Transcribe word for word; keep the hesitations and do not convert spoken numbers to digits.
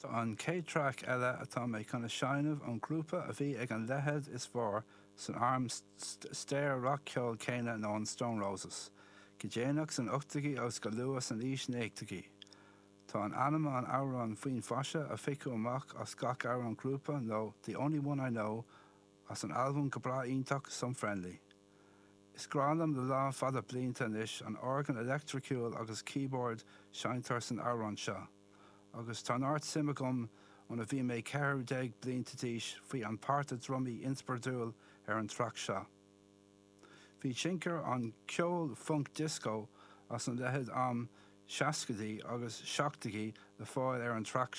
Tá an chéad traic eile atá mé chun a sheinm ón grúpa a bhí ag an leithead is fearr san am stair rac-cheoil céanna ná an Stone Roses, go déanach san ochtóidí agus go luath san aois naochadaí. Tá in ainm an amhrán faoin phaiste a phiocadh amach as gach amhrán grúpa nó The Only One I Know as an albam go breá iontach Some Friendly. Is grá liom le lá fada blianta anois an orgán leictreachúil agus keyboard seinntear san amhrán seo. agus tá neart suim agam óna bhí mé ceathair déag blianta d'aois faoi an páirt drumaí inspioráidiúil ar an traic seo. Bhí tionchar an ceol funk disco as an leithead am seascaidí agus seachtóidí le fáil ar an traic